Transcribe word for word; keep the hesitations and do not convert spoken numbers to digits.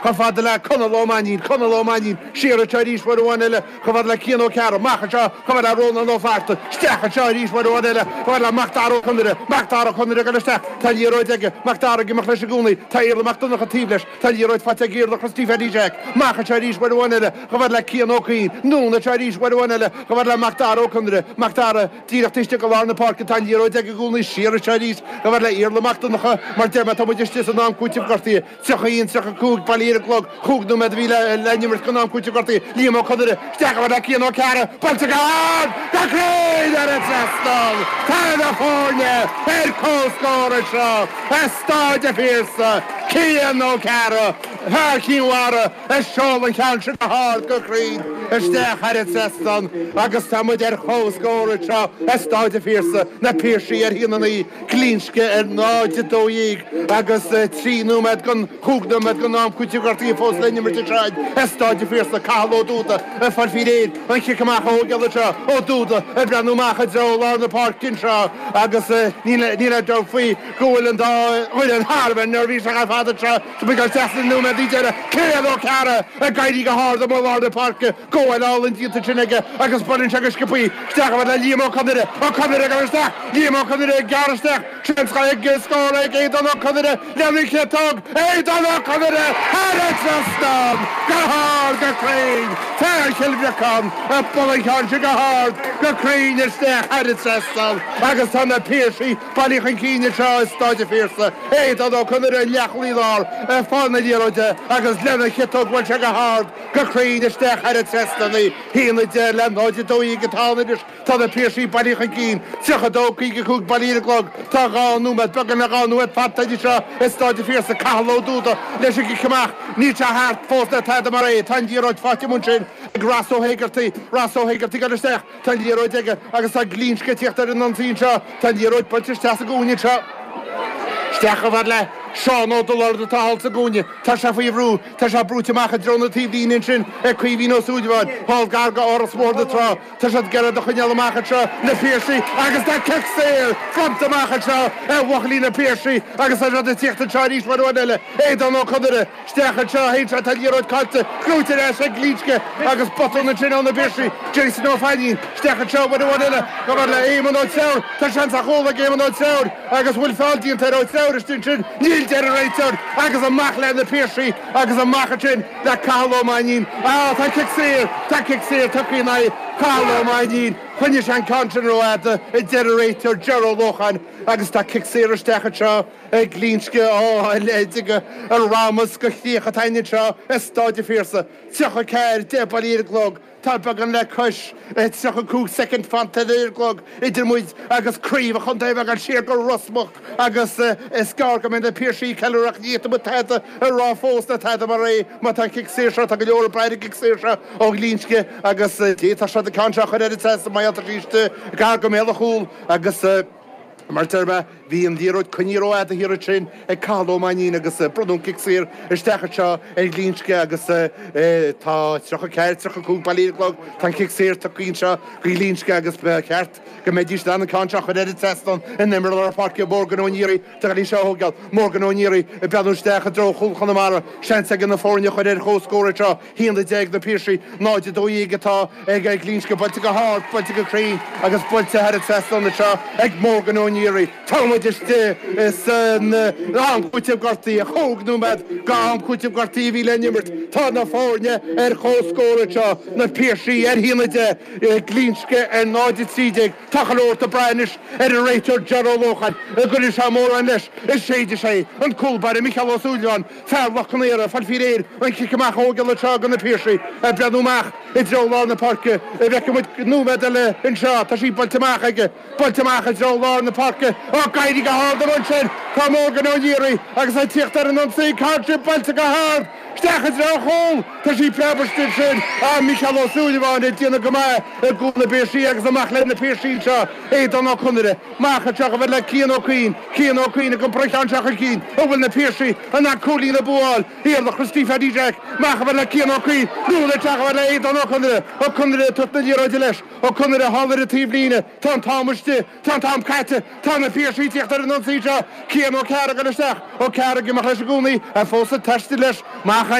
Chomh fada le Conall Ó Mainnín, Conall Ó Mainnín, siar anseo arís uair amháin eile, chomh fada le Cian Ó Cearra, amach anseo chomh fada le Rónán Ó Fátharta, isteach anseo arís uair amháin eile, chomh fada le Mac Dara Ó Conaire, Mac Dara Ó Conaire ag dul isteach, tá an liathróid aige, Mac Dara ag imeacht leis i gcónaí, tá Iarla Mac Donncha taobh leis, tá an liathróid faighte ag Iarla Christy Pheaidí Jack, amach anseo arís uair amháin eile, chomh fada le Cian Ó Cuinn, anonn anseo arís uair amháin eile, chomh fada le Mac Dara Ó Conaire, Mac Dara díreach taobh istigh de lár na páirce, tá an liathróid aige i gcónaí, siar anseo arís, chomh fada le Iarla Mac Donncha, mar deir mé, tá muid istigh san am cúitimh gortaithe. tríocha a haon, tríocha a cúig, bailithe ar an gclog, chúig nóiméad a bhí le n-imirt don am cúitimh gortaithe, Liam Ó Conaire, isteach chomh fada le Cian Ó Cearra, buailte go hard, go cruinn thar an trasnán! Tá na foirne ar comhscór anseo i Stáid an Phiarsaigh, Cian Ó Cearra, fear Chinn Mhara, a sheol an ceann sin go hard, go cruinn isteach thar an trasnán agus tá muid ar comhscór anseo i Stáid an Phiarsaigh, na Piarsaigh ar a haon a naoi. Glinsce ar náid a dó dhéag agus trí nóiméad don chúig nóiméad don am cúitimh gortaithe fós le n-imirt anseo i Stáid an Phiarsaigh. Cathal Ó Dúda ag fáil faoi réir an chic amach a thógáil anseo. Ó Dúda ag breathnú amach i dtreo lár na páirce anseo agus níl aon dabht faoi go bhfuil an dá fhoireann thar a bheith neirbhíseach ar fad anseo. Tá muid ag dul isteach sna nóiméadaí deiridh. Cian Ó Cearra ag éirí go hard amuigh i lár na páirce. Gabháil álainn déanta ansin aige agus buaileann sé go sciobthaí isteach chomh fada le Liam Ó Conaire. Ó Conaire ag dul isteach. Liam Ó Conaire ag gearradh isteach. Seans ag scór ag Aodán Ó Conaire lena chiotóg. Aodán Ó Conaire thar an trasnán! Go hard, go cruinn! Fear Chill Bhriocáin ag bualadh an cheann sin go hard, go cruinn isteach thar an trasnán agus tá na Piarsaigh bailithe chun cinn anseo i Stáid an Phiarsaigh. Aodán Ó Conaire i leathchúlaí láir ag fáil na liathróide agus lena chiotóg bhuail sé go hard, go cruinn isteach thar an trasnán í. Haon a deich le náid a dó dhéag atá ann anois. Tá na Piarsaigh bailithe chun cinn, tríocha a dó, caoga a cúig bailithe ar an gclog. Tá dhá nóiméad, beagán le dhá nóiméad fanta anseo i Stáid an Phiarsaigh. Cathal Ó Dúda leis an gcic amach. Níl sé thart fós le tada mar é. Tá an liathróid faighte amuigh ansin ag Ross Ó hÉigeartaigh. Ross Ó Héigeartaigh ag dul isteach. Tá an liathróid aige agus tá Glinsce ag tíocht ar an ionsaí anseo. Tá an liathróid buailte isteach sa gcúinne anseo. Isteach chomh fada le Seán Ó Dolaird atá thall sa gcúinne. Tá sé faoi bhrú. Tá sé brúite amach i dtreo na taobhlíne ansin ag Caoimhín Ó Súilleabháin. Thall gar go Áras Bhóthar na Trá. Tá siad ag iarraidh iad a choinneáil amach anseo, na Piarsaigh, agus tá cic saor bronnta amach anseo ar bhuachaillí na Piarsaigh agus tá siad ag tíocht anseo arís uair amháin eile. Aodán Ó Conaire isteach anseo, théann sé, tá an liathróid caillte, gnóite ar ais ag Glinsce agus botún ansin ó na Piarsaigh. Jason Ó Fainín isteach anseo uair amháin eile, chomh fada le Éamonn Ó Treabhair. Tá seans ar chúl ag Éamonn Ó Treabhair agus bhfuil feall déanta ar Ó Treabhair istigh ansin? Níl, deir an réiteoir agus amach le na Piarsaigh agus amach ansin le Cathal Ó Mainnín. Á, tá cic saor! Tá cic saor tugtha in aghaidh Cathal Ó Mainnín. Choinnigh sé an ceann sin rófhada, a deir an réiteoir Ger Ó Lócháin agus tá cic saor isteach anseo ag Glinsce. Á, a leithéid de ramas go chríoch atá againn anseo i Stáid an Phiarsaigh. tríocha a ceathair, deich bailithe ar an gclog. Tá beagán le cois tríocha cúig soicind fanta ar an gclog idir muid agus craobh an chontae a bheith ag dul siar go Ros Muc agus is gearr go mbeidh na Piarsaigh ag ceiliúradh ach ní fhéadfaidh muid tada a rá fós ná tada mar é má tá an cic saor seo, tá go leor ag brath ar an gcic saor seo ó Ghlinsce agus d'fhéadfadh siad an ceann seo a chur ar an trasnán má tá sí istigh gar go mbéal an chúil agus Mar a deir mé, bhí an liathróid coinnithe rófhada thiar ansin ag Cathal Ó Mainnín agus bronnadh an cic saor isteach anseo ar Ghlinsce agus tá tríocha ceathair, tríocha cúig bailithe ar an gclog. Tá an cic saor tugtha anseo go Ghlinsce agus ba cheart go mbeidís in ann an ceann seo a chur ar an trasnán in imreoir lár páirce Morgan Ó Niaraigh atá le í seo a thógáil. Morgan Ó Niaraigh ag breathnú isteach i dtreo chúl Chonamara. Seans aige na foirne a chur ar comhscór anseo. haon a deich ag na Piarsaigh, náid a dó dhéag atá ag Glinsce buailte go hard, buailte go cruinn agus buailte thar an trasnán anseo ag Morgan Ó Niaraigh. Tá muid istigh san am cúitimh gortaithe, chúig nóiméad go am cúitimh gortaithe a bhí le n-imirt. Tá na foirne ar comhscór anseo, na Piarsaigh ar haon a deich, Glinsce ar náid a trí déag. Tá chuile shórt ag brath anois ar an réiteoir Ger Ó Lócháin, an gcuirfidh sé mórán leis, an séidfidh sé an cúl báire Micheál Ó Súilleabháin. Fear Loch Con Aortha, ag fáil faoi réir an cic amach a thógáil anseo do na Piarsaigh, ag breathnú amach i dtreo lár na páirce. An bhfeicfidh muid nóiméad eile anseo. Tá sí buailte amach aige, buailte amach i dtreo lár na páirce. Ó, ag éirí go hard amuigh ansin! Tá Morgan Ó Niaraigh agus é ag tíocht ar an ionsaí. Tá sí buailte go hard isteach i dtreo an chúil. Tá sí preabtha istigh ansin. Ah, Micheál Ó Súilleabháin ag déanamh go maith i gcúl na bPiarsaigh agus amach le na Piarsaigh anseo. Aodán Ó Conaire. Amach anseo chomh fada le Cian Ó Cuinn. Cian Ó Cuinn ag iompar an cheann seo chun cinn. An bhfuil na Piarsaigh in ann cúilín a bhuáil? Iarla Christy Pheaidí Jack. Amach chomh fada le Cian Ó Cuinn. Anonn isteach chomh fada le Aodán Ó Conaire. Ó Conaire ag tabhairt na liathróide leis. Ó Conaire thall ar an taobhlíne. Tá an t-am istigh. Tá an t-am caite. Tá na Piarsaigh ag tíocht ar an ionsaí seo. Cian Ó Cearra ag dul isteach. Ó Cearra ag imeacht leis i gcónaí. Fós ag taisteal leis. Amach